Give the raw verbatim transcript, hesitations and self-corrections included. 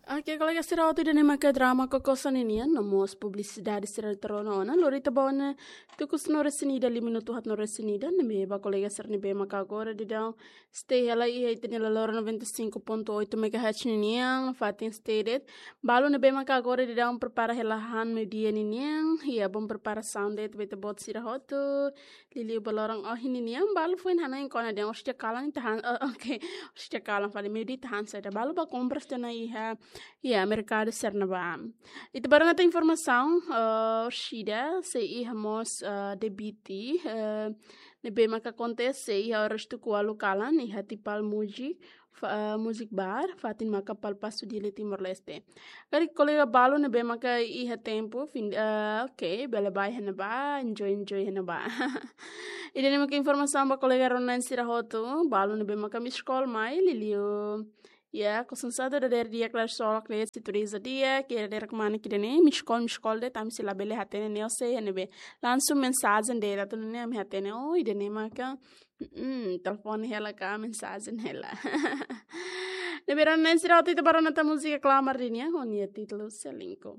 Oke, kolega sira, ida-ne'e maka drama Kokosa ninian, no mós publisidade sira ita rona ona, lori ita ba ona tuku sanulu-resin-ida, lima minutu haat-nulu-resin-ida, ne'ebé ba kolega sira ne'ebé maka agora daudaun stay hela iha ita-nia Laloran noventa e cinco ponto oito megahertz ninian, fatin stay de'it. Balu ne'ebé maka agora daudaun prepara hela han meiudia ninian, iha bom preparasaun de'it ba ita-boot sira hotu, liuliu ba loron ohin ninian, balu foin han ona, kona dehan hostia kalan ita han, oh, oke, hostia kalan fali meiudia ita han saida, balu ba kompras tiha ona iha, iha merkadu sira ne'ebá. Ita bá rona tan informasaun, eh, orsida, sei iha mós, eh, debate, eh, ne'ebé maka akontese iha oras tuku ualu kalan, iha Tipal Music, fa-, eh, Music Bar, fatin maka Palapasu Dili, Timor-Leste. Karik kolega balu ne'ebé maka iha tempu, fin, eh, oke, bele bá iha ne'ebá, enjoy, enjoy iha ne'ebá. Ida-ne'e maka informasaun ba kolega rona-na'in sira hotu, balu ne'ebé maka miss call mai, liuliu. Ya, kosong satu dadeer di'ak Klarsolok de'it, sintonia di'ak, kira dadeer kmanek ida-ne'e, miss call, miss call de'it, ami sei labele hatene ne'e sé iha ne'ebé. Langsung mensajen de'it, atu nune'e ami hatene, oh, ida-ne'e maka, mm, telefone hela ka, mensajen hela. Ne'ebé rona-na'in sira hotu, ita bá rona tan múzika klamar ninian, ho nia títulu Selingkuh.